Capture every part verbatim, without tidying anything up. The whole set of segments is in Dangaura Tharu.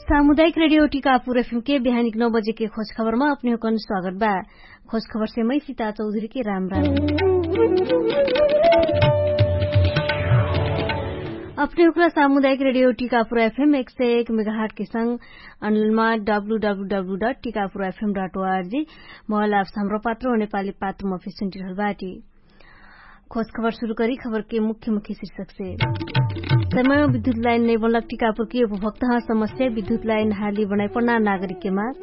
सामुदायिक रेडियो टिकापुर एफएम के बिहानिक नौ बजे के खोज खबरमा अपने हुकन स्वागत बा। खोज खबर से मै सीता चौधरी के राम राम। अपने हुकरा सामुदायिक रेडियो टिकापुर एफएम एक सय एक मेगाहट के संग अनलमा W W W dot Tikapur FM dot O R G mobile apps Hamro Patro नेपाली पात्र मफे सुन्टिरहल बाटी। खोज खबर सुरु करी खबर के मुख्य मुख्य शीर्षक से। समय विद्युत लाइन नै बनलक टिकापुर के उपभोक्ता समस्या विद्युत लाइन हाली बनाइ पण्ना नागरिक के माग।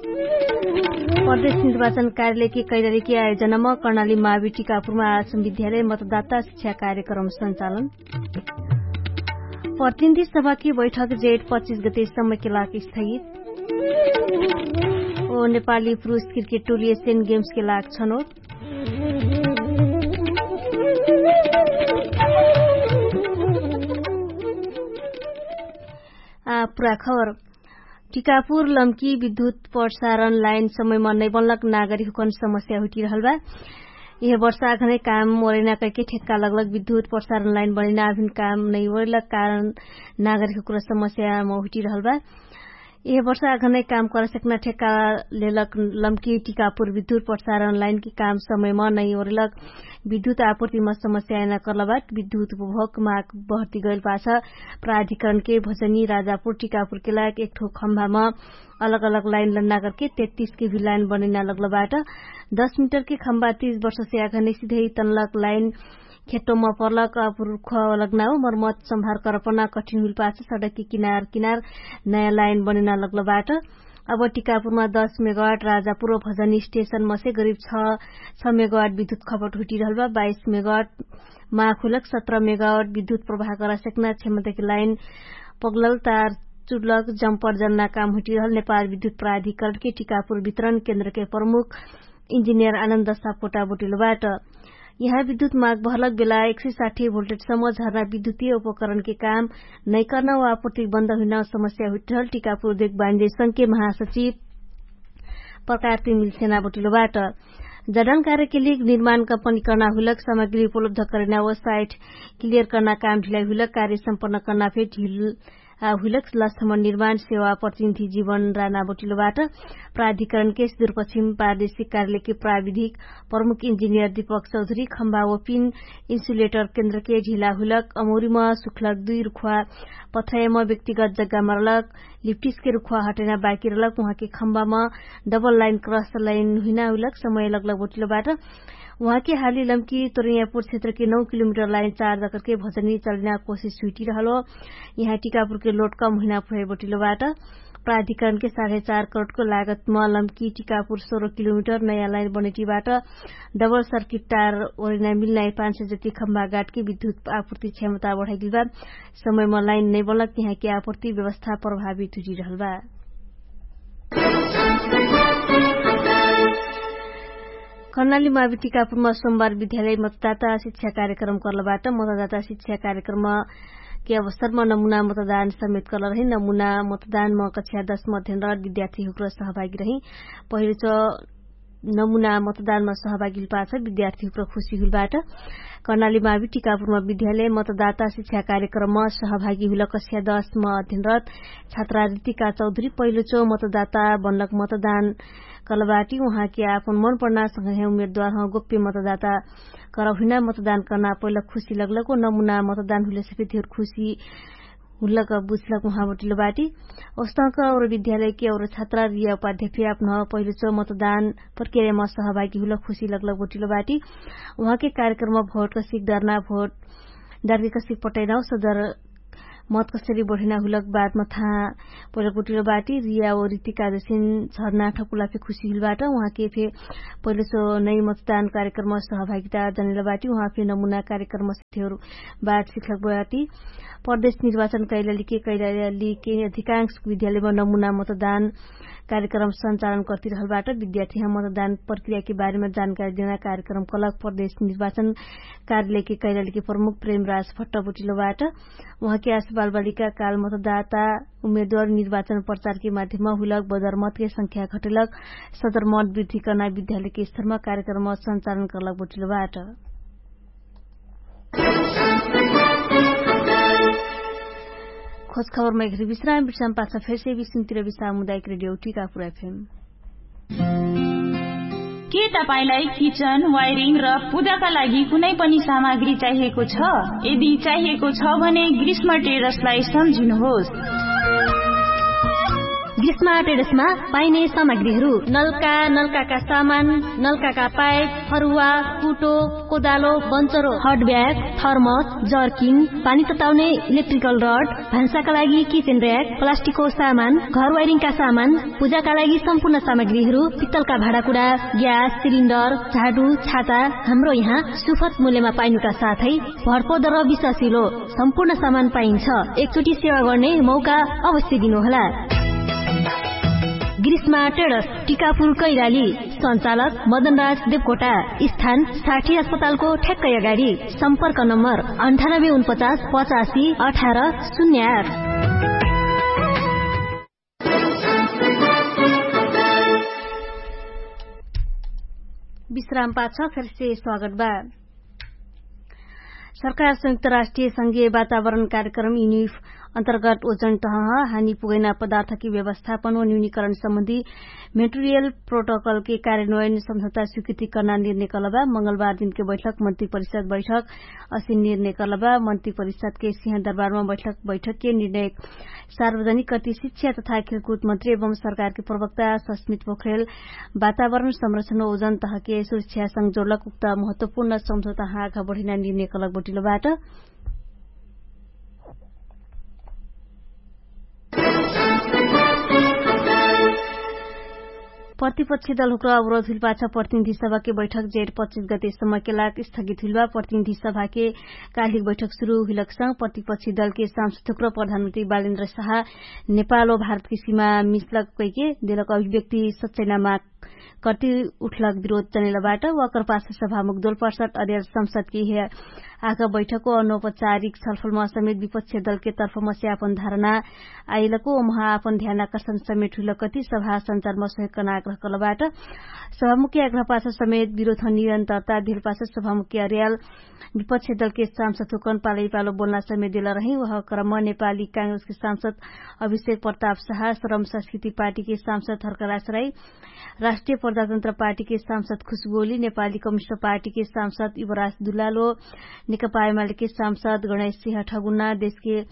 प्रदेश निर्वाचन कार्यालय के कैलाली के आयोजनामा कर्णाली मावी टिकापुरमा आसम विद्यालय मतदाता शिक्षा कार्यक्रम सञ्चालन। प्रतिनिधि सभा के बैठक जेठ पच्चिस गते समय के लाग स्थगित। ओ नेपाली पुरुष क्रिकेट टोली एसियन गेम्स के लाग छनोट। पुरा खबर। टिकापुर लम्की विद्युत प्रसारण लाइन समयमा नै बनलक नागरिक हुकन समस्या हुइटिरहल बा। यह वर्षा अखनै काम ओरैना कैके ठेक्का लगलक विद्युत प्रसारण लाइन बनैना अभिन काम नै ओरैलक कारण नागरिक हुकन समस्यामा हुइटिरहल बा। यह वर्षा अखनै काम करसेक्ना ठेक्का लेलक लम्की टिकापुर विद्युत प्रसारण लाइन के काम समयमा नै ओरैलक विद्युत आपुर्तिमा समस्या आइना कर्लबाट विद्युत उपभोग माग बहर्ति गैल पाछ प्राधिकरणके भजनी राजापुर टिकापुरके लाग एकठो खम्भामा अलग अलग लाइन लन्ना करके तेत्तिसके भि लाइन बनैना लगलबाट। दश मिटरके खम्भा तीस वर्षसे आखा नैसिधै तनलक लाइन खेट्टोमा पर्लक अपुरुख लगनाउ मर्मत सम्भार करपना कठिन हुइल पाछ सडकके किनार किनार नयाँ लाइन बनैना लगलबाट। अब टिकापुरमा दश मेगावाट राजापुर भजनी स्टेसनमसे गरिब छ मेगावाट विद्युत खपट हुइटिरहल बा। बाइस मेगावाट माख हुइलक सत्र मेगावाट विद्युत प्रवाह गरासेक्ना क्षमताके लाइन पगलल तार चुडलक जम्पर जन्ना काम हुइटिरहल नेपाल विद्युत प्राधिकरणके टिकापुर वितरण केन्द्रके प्रमुख इन्जिनियर आनन्द सापकोटा बोटिलो बाट। यहाँ विद्युत माग भरलक बेला एक सय साठी भोल्टेजसम्म झर्ना विद्युतीय उपकरणके काम नैकर्ना वा प्रतिबन्ध हुइना समस्या हुइटिरहल टिकापुर देख बान्जे संघके महासचिव प्रकारती मिल्सेना बोटिलो बाट। जडान कार्यके लिग निर्माण कम्पनी कर्ना हुइलक सामग्री उपलब्ध करैना वा साइट क्लियर कर्ना काम ढिलाइ हुइलक कार्य सम्पन्न कर्ना फे ढिल हुइलक लक्षमण निर्माण सेवा प्रतिनिधि जीवन राना बोटिलोबाट। प्राधिकरणके सुदूरपश्चिम प्रादेशिक कार्यालयके प्राविधिक प्रमुख इन्जिनियर दीपक चौधरी खम्बा व पिन इन्सुलेटर केन्द्रके ढिला हुइलक अमौरीमा सुखलक दुई रुखुवा पथ्रयमा व्यक्तिगत जग्गा मरलक लिप्टिसके रुखुवा हटैना बाकी रहलक उहाँके खम्बामा डबल लाइन क्रस लाइन हुइना हुइलक समय लगलक बोटिलोबाट। उहाँके हाली लम्की तोरैयापुर क्षेत्रके नौ किलोमिटर लाइन चार जकरके भजनी चलैना कोसिस हुइटिरहलो। यहाँ टिकापुरके लोट कम हुइना फुहै बोटिलोबाट। प्राधिकरणके साढे चार करोडको लागतमा लम्की टिकापुर सोह्र किलोमिटर नयाँ लाइन बनैटिबाट डबल सर्किट टार ओरैना मिल्नाइ पाँच सय जति खम्बा गाटके विद्युत आपुर्ति क्षमता बढाइदिलबा। समयमा लाइन नै बनलक यहाँके आपुर्ति व्यवस्था प्रभावित हुइटिरहलबा। कर्णाली मावि टिकापुरमा सोमबार विद्यालय मतदाता शिक्षा कार्यक्रम कर्लबाट मतदाता शिक्षा कार्यक्रमके अवसरमा नमुना मतदान समेत कर्ल रहि नमुना मतदानमा कक्षा दश मध्यन्तर विद्यार्थी हुक्र सहभागी रहि पहिलो च नमुना मतदानमा सहभागी हुइल पाछ विद्यार्थी हुक्र खुशी हुइल बाट। कर्णाली मावि टिकापुरमा विद्यालय मतदाता शिक्षा कार्यक्रममा सहभागी हुइल कक्षा दश मध्यन्तर छात्रा रितिका चौधरी पहिलो च मतदाता बनलक मतदान कलबाटी उहाँके आपन मन पढ्ना संगे उमेदवार ह गोप्य मतदाता करहुइना मतदान कर्ना पहिला खुशी लगलक ओ नमुना मतदान हुइले सफे धेर खुशी हुलक बुझलक उहाँ बटिलो बाटी। ओस्तक और विद्यालयके और छात्रा रिया उपाध्याय फे आपन पहिलो च मतदान प्रक्रियामा सहभागी हुलक खुशी लगलक बटिलो बाटी। उहाँके कार्यक्रममा भोट कसिक डरना भोट डरके कसिक पटैना सदर मत कसरी बढैना हुलक बात मथा पहिलो गुटिलो बाटी रिया ओ रितिका जसिन झर्ना ठकुला फे खुशी हुल बाट। उहाँके फे पहिलो सो नै मतदान कार्यक्रम सहभागिता जनेल बाटी उहाँ फे नमुना कार्यक्रम से धेर बात सिखलक बाटी। प्रदेश निर्वाचन कैलाली के कैलाली के अधिकांश विद्यालयमा नमुना मतदान कार्यक्रम सञ्चालन कर्तिरहल बाट विद्यार्थी मतदान प्रक्रियाके बारेमा जानकारी देना कार्यक्रम कलक प्रदेश निर्वाचन कार्यालयके कैलालीके प्रमुख प्रेमराज भट्ट बटिलो बाट। उहाँके आस बालबालिका काल मतदाता उमेदवार निर्वाचन प्रचारके माध्यममा हुलक बदरमतके संख्या घटलक सदरमत वृद्धि कर्ना विद्यालयके स्तरमा कार्यक्रम सञ्चालन कर्लक बटिलो बाट। खोजखबरमा एकरी विश्राम विश्राम पाछा फेरसे विश्रामतिर विश्राम मुदायक रेडियो टिकापुर एफएम। के तपाईंलाई किचन, वायरिङ र पूजाका लागि कुनै पनि सामग्री चाहिएको छ? यदि चाहिएको छ भने ग्रीष्म ट्रेडर्सलाई सम्झिनुहोस्। ग्रीष्म ट्रेडर्समा पाइने सामग्रीहरू नलका, नलकाका सामान, नलकाका पाइप, फरुवा, कुटो, कोदालो, बन्चरो, हट ब्याग, थर्मस, जर्किन, पानी तताउने इलेक्ट्रिकल रड, भान्साका लागि किचन र्‍याक, प्लास्टिकको सामान, घर वायरिङका सामान, पूजाका लागि सम्पूर्ण सामग्रीहरू, पित्तलका भाँडाकुँडा, ग्यास सिलिन्डर, झाडु, छाता, हाम्रो यहाँ सुफत मूल्यमा पाइनुका साथै भरपर्दो र विश्वासिलो सम्पूर्ण सामान पाइन्छ। एकचोटि सेवा गर्ने मौका अवश्य दिनुहोला। ग्रीष्मा ट्रेडर्स, टिकापुर कैलाली। सञ्चालक मदनराज देवकोटा। स्थान साठी अस्पतालको ठ्याक्कै अगाडि। सम्पर्क नम्बर अन्ठानब्बे उनपचास पचासी अठार शून्य आठ। विश्राम पाछ फेरसे स्वागत बा। सरकार संयुक्त राष्ट्रिय संघीय वातावरण कार्यक्रम युनिफ अन्तर्गत ओजन तह हानि पुगैना पदार्थकी व्यवस्थापन व न्यूनीकरण सम्बन्धी मेट्रियल प्रोटोकलके कार्यान्वयन सम्झौता स्वीकृति कर्ना निर्णय कलबा। मंगलबार दिनके बैठक मन्त्री परिषद बैठक असिन निर्णय कलबा। मन्त्री परिषदके सिंह दरबारमा बैठक बैठकके निर्णय सार्वजनिक कति शिक्षा तथा खेलकुद मन्त्री एवं सरकारके प्रवक्ता सस्मित पोखरेल वातावरण संरक्षण ओजन तहके सुरक्षासँग जोडलक उक्त महत्वपूर्ण सम्झौता हाँका बढिना निर्णय कलक बटिलो बाट। प्रतिपक्षी दल हुक्र अवरोध हुइल पाछ प्रतिनिधि सभाके बैठक जेठ पच्चिस गते सम्मके लाग स्थगित हुइल बा। प्रतिनिधि सभाके कालिक बैठक सुरु हुइलक संग प्रतिपक्षी दलके सांसद हुक्र प्रधानमन्त्री बालेन्द्र शाह नेपाल व भारतकी सिमा मिसलक कैके देलक अभिव्यक्ति सच्चैना माग कर्ति उठलक विरोध जनेल बाट। वकर पाछ सभामुख दोलपर्सट अरियल संसदकी हे आका बैठक व अनौपचारिक छलफलमा समेत विपक्ष दलके तर्फमा से आपन धारणा आइलको ओमहा आपन ध्यान आकर्षण समेट हुइलकति सभा सञ्चारमा सहयोग कर्ना आग्रह कलबाट। सभामुख्य आग्रह पाछ समेत विरोध निरन्तरता धिल पाछ सभामुख्य अरियल विपक्ष दलके सांसद हुकन पालैपालो बोल्ना समेट देल रही। वह क्रम नेपाली कांग्रेसके सांसद अभिषेक प्रताप शाह, श्रम संस्कृति पार्टीके सांसद हर्कराज राई, राष्ट्रिय प्रजातन्त्र पार्टीके सांसद खुशबोली, नेपाली कम्युनिस्ट पार्टीके सांसद युवराज दुलालो, नेकपा एमालेके सांसद गणेश सिंह ठगुना देशके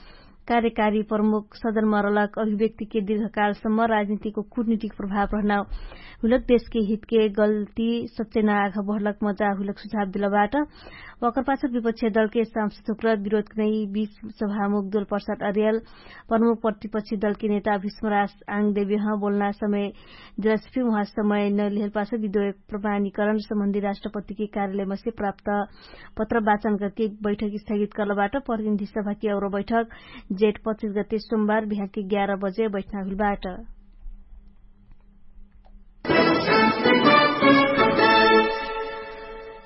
कार्यकारी प्रमुख सदन मरलक अभिव्यक्तिके दीर्घकालसम्म राजनीतिको कुटनीतिक प्रभाव रहना हुलक देशके हितके गल्ती सच्चेना आघ बढलक मजा हुलक सुझाव दिलबाट। वकर पाछक विपक्ष दलके सांसद हुक्र विरोधके नै बीच सभामुख दोलपर्सट अरियल प्रमुख प्रतिपक्षी दलके नेता भिष्मराज आङदेव्यह बोल्ना समय दिलसफी उहाँ समय नलिहेल पाछ विद्वय प्रमाणीकरण सम्बन्धी राष्ट्रपतिके कार्यालयमसे प्राप्त पत्र वाचन करके बैठक स्थगित करलबाट। प्रतिनिधि सभाके अवरो बैठक जेठ पच्चिस गते सोमबार बिहानके ग्यार बजे बैठना हुइलबाट।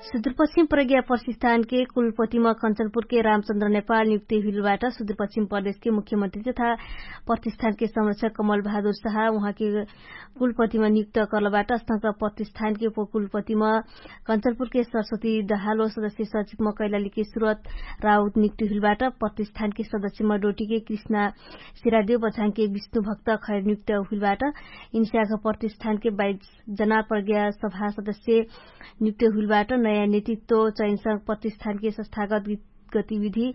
सुदूरपश्चिम प्रज्ञा प्रशिस्थानके कुलपतिमा कञ्चनपुरके रामचन्द्र नेपाल नियुक्ति हुइलबाट। सुदूरपश्चिम प्रदेशके मुख्यमन्त्री तथा प्रतिष्ठानके संरक्षक कमल बहादुर शाह उहाँके कुलपतिमा नियुक्त करलबाट। स्तंक प्रतिष्ठानके उपकुलपतिमा कञ्चनपुरके सरस्वती दहालो सदस्य सचिवमा कैलालीके सुरत राउत नियुक्ति हुइलबाट। प्रतिष्ठानके सदस्यमा डोटीके कृष्णा सिरादेव बझाङके विष्णुभक्त खैर नियुक्त हुइलबाट। इन्स्याक प्रतिष्ठानके बाइस जना प्रज्ञा सभा सदस्य नियुक्त हुइलबाट। नयाँ नेतृत्व चयनसँग प्रतिष्ठानके संस्थागत गतिविधि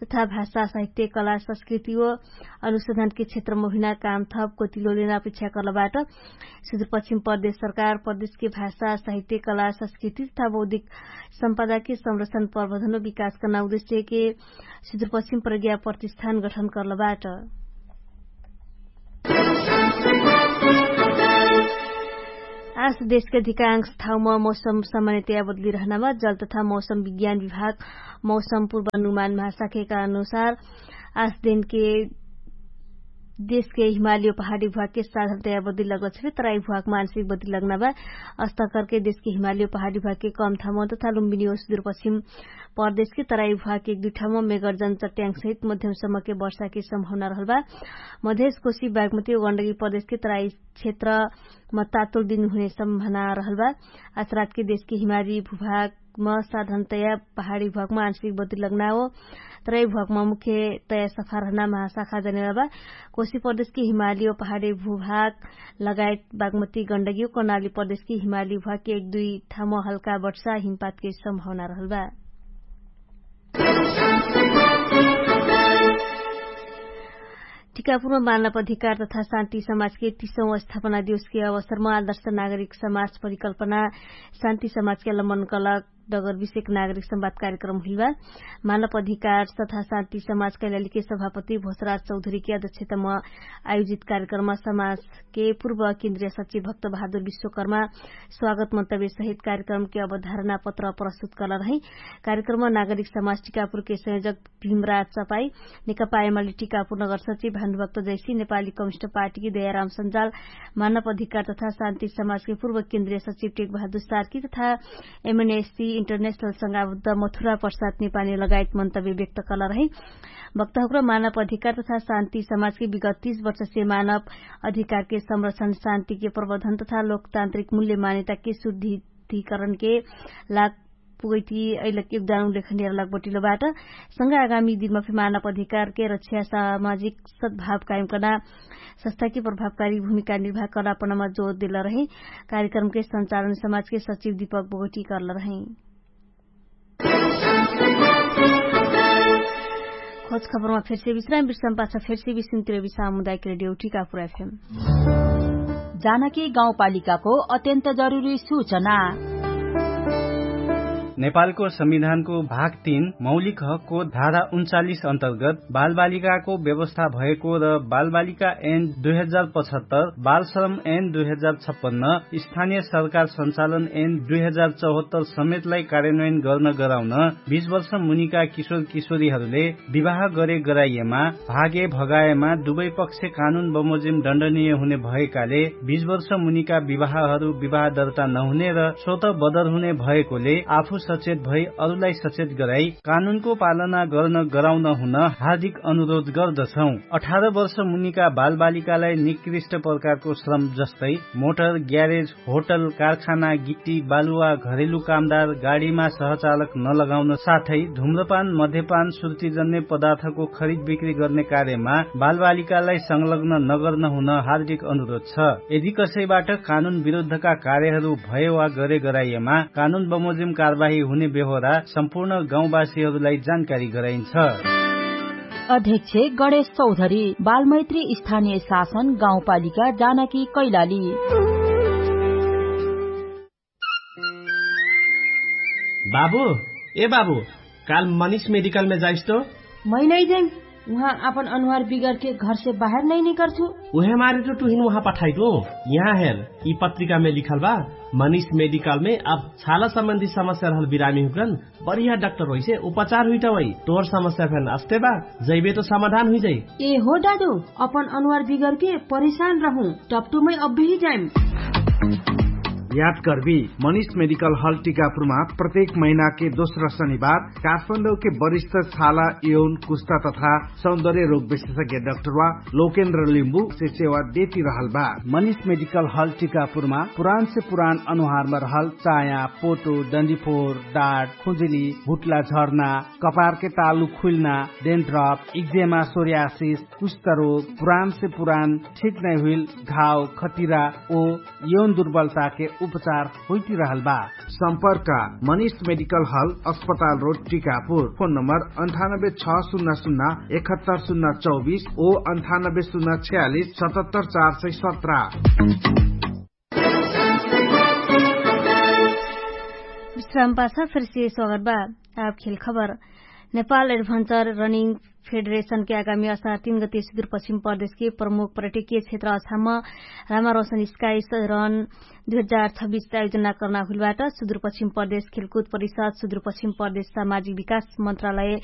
तथा भाषा साहित्य कला संस्कृति व अनुसन्धानके क्षेत्र महिना काम थप गतिलो लेना अपेक्षा करलबाट। सुदूरपश्चिम प्रदेश सरकार प्रदेशके भाषा साहित्य कला संस्कृति तथा बौद्धिक सम्पदाके संरक्षण प्रवर्धन विकास कर्ना उद्देश्यके सुदूरपश्चिम प्रज्ञा प्रतिष्ठान गठन करलबाट। आज देशके अधिकांश ठाउँमा मौसम सामान्यतया बदली रहनामा जल तथा मौसम विज्ञान विभाग मौसम पूर्वानुमान महाशाखेका अनुसार आज दिनके देशके हिमाली पहाडी भुवाके साधारण तया बदली लगत छे तराई भुवाक मानसिक बदली लगना बा। अस्तकरके देशके हिमाली पहाडी भुवाके कम ठाउँमा तथा लुम्बिनी सुदूरपश्चिम प्रदेशके तराई भुवाके एक दुई ठाउँमा मेगर्जन चट्याङ सहित मध्यम सम्मके वर्षाके सम्भावना रहल बा। मधेश कोशी बागमती गण्डकी प्रदेशके तराई क्षेत्र मत्तातोल दिन हुने सम्भावना रहल बा। आज रातके देशके हिमाली भुभाग म साधनतया पहाडी भ्वाकमा आंशिक बद्री लग्ना हो। तरै भ्वाकमा मुख्यतया सफा रहना महाशाखा जनेवाबा। कोशी प्रदेशकी हिमाली हो पहाडी भूभाग लगायत बागमती गण्डगी हो कर्णाली प्रदेशकी हिमाली भ्वाकी एक दुई ठाम हल्का वर्षा हिमपातके सम्भावना रहलबा। टिकापुरमा मानव अधिकार तथा शान्ति समाजके तीसौं स्थापना दिवसके अवसरमा आदर्श नागरिक समाज परिकल्पना शान्ति समाजके लम्बन कलक डगर विषयक नागरिक संवाद कार्यक्रम हुइलबा। मानव अधिकार तथा शान्ति समाज कैलालीके सभापति भोसराज चौधरीके अध्यक्षतम आयोजित कार्यक्रममा समाजके पूर्व केन्द्रीय सचिव भक्त बहादुर विश्वकर्मा स्वागत मन्तव्य सहित कार्यक्रमके अवधारणा पत्र प्रस्तुत करल रहै। कार्यक्रममा नागरिक समाज टिकापुरके संयोजक भीमराज चपाई नेकपा एमाली टिकापुर नगर सचिव भानुभक्त जैसी नेपाली कमिस्ट पार्टीकी दयाराम सन्जाल मानव अधिकार तथा शान्ति समाजके पूर्व केन्द्रीय सचिव टेक बहादुर सार्की तथा एमएनएससी इन्टरनेशनल संगाबुद्ध मथुरा प्रसाद नेपाली लगायत मन्तव्य व्यक्त कलर है। वक्ताहुक्र मानव अधिकार तथा शान्ति समाजके विगत तीस वर्षसे मानव अधिकारके संरक्षण शान्तिके प्रवर्धन तथा लोकतान्त्रिक मूल्य मान्यताके शुद्धिकरणके लाग पुगैती अइलक योगदान उल्लेखनीय रहलक बटिलो बाट। संग आगामी दिनमा फे मानव अधिकारके रक्षा सामाजिक सद्भाव कायम कर्ना संस्थाके प्रभावकारी भूमिका निर्वाह कर्ना पनमा जोर देल रहै। कार्यक्रमके संचालन समाजके सचिव दीपक बोगटी कर्ल रहै। खोज खबरमा फेर्से विश्राम विश्राम पाछ फेर्से विश्राम तिर विश्राम मुदायक रेडियो टिकापुर एफएम। जानकी गाउँपालिकाको अत्यन्त जरुरी सूचना। नेपालको संविधानको भाग तीन मौलिक हकको धारा उन्चालिस अन्तर्गत बालबालिकाको व्यवस्था भएको र बालबालिका एन दुई हजार पचहत्तर बालश्रम एन दुई हजार छप्पन्न स्थानीय सरकार सञ्चालन एन दुई हजार चौहत्तर समेतलाई कार्यान्वयन गर्न गराउन बीस वर्ष मुनिका किशोर किशोरीहरूले विवाह गरे गराइएमा भागे भगाएमा दुवै पक्ष कानुन बमोजिम दण्डनीय हुने भएकाले बीस वर्ष मुनिका विवाहहरू विवाह दर्ता नहुने र स्वत बदर हुने भएकोले आफू सचेत भई अरूलाई सचेत गराई कानुनको पालना गर्न गराउन हुन हार्दिक अनुरोध गर्दछौं। अठार वर्ष मुनिका बालबालिकालाई निकृष्ट प्रकारको श्रम जस्तै मोटर ग्यारेज होटल कारखाना गिट्टी बालुवा घरेलु कामदार गाडीमा सहचालक नलगाउन साथै धुम्रपान मध्यपान सुर्तिजन्य पदार्थको खरिद बिक्री गर्ने कार्यमा बालबालिकालाई संलग्न नगर्न हुन हार्दिक अनुरोध छ। यदि कसैबाट कानुन विरुद्धका कार्यहरू भए वा गरे गराइएमा कानुन बमोजिम कारवाही हुने बेहोरा सम्पूर्ण गाउँवासीहरूलाई जानकारी गराइन्छ। अध्यक्ष गणेश चौधरी बालमैत्री स्थानीय शासन गाउँपालिका जानकी कैलाली। बाबु, ए बाबु, काल मनिष मेडिकलमे जाइस तो? मै नै जाइम। उहाँ आपन अनुहार बिगरके घरसे बाहेर नै निकर्छु। उहे मारे तो टुहिन उहाँ पठाइटु। यहाँ हेर, यि पत्रिकामे लिखल बा, मनिष मेडिकलमे अब छाला सम्बन्धी समस्या रहल बिरामी हुकरन बढिया डाक्टर होइसे उपचार हुइटा वइ। तोर समस्या फेन अस्ते बा, जैबे तो समाधान हुइजाइ। ए हो डाडु, अपन अनुहार बिगरके परेशान रहु। टपटुमै अब्बेही जाइम। याद कर्बी, मनिष मेडिकल हल टिकापुरमा प्रत्येक महिनाके दोस्रा शनिबार काठमाडौके वरिष्ठ छाला यौन कुस्ता तथा सौन्दर्य रोग विशेषज्ञ डाक्टरवा लोकेन्द्र लिम्बु से सेवा देती रहल बा। मनिष मेडिकल हल टिकापुरमा पुरान से पुरान अनुहारमा रहल चाया पोटो डन्डिफोर डाट खुजुली भुटला झर्ना कपारके तालु खुइल्ना डेन्ड्रप इक्जेमा सोर्यासिस कुष्ठरोग पुरान से पुरान ठिक नै हुइल घाव खटिरा ओ यौन दुर्बलताके उपचार होइतिरहल बा। सम्पर्क मनिष मेडिकल हल अस्पताल रोड टिकापुर। फोन नम्बर अन्ठानब्बे छ सुन्ना सुन्ना एकहत्तर सुन्ना चौबिस ओ अन्ठानब्बे सुन्ना छ्यालिस सतहत्तर चार सय सत्र। विश्राम पाछ फेरसे स्वागत बा। आब खेल खबर। नेपाल एडभन्चर रनिङ फेडरेशनके आगामी असार तीन गते सुदूरपश्चिम प्रदेशके प्रमुख पर्यटकीय क्षेत्र अछाम रामा रोशन स्काइस रन दुई हजार छब्बिस आयोजना कर्ना हुइलबाट सुदूरपश्चिम प्रदेश खेलकुद परिषद सुदूरपश्चिम प्रदेश सामाजिक विकास मन्त्रालय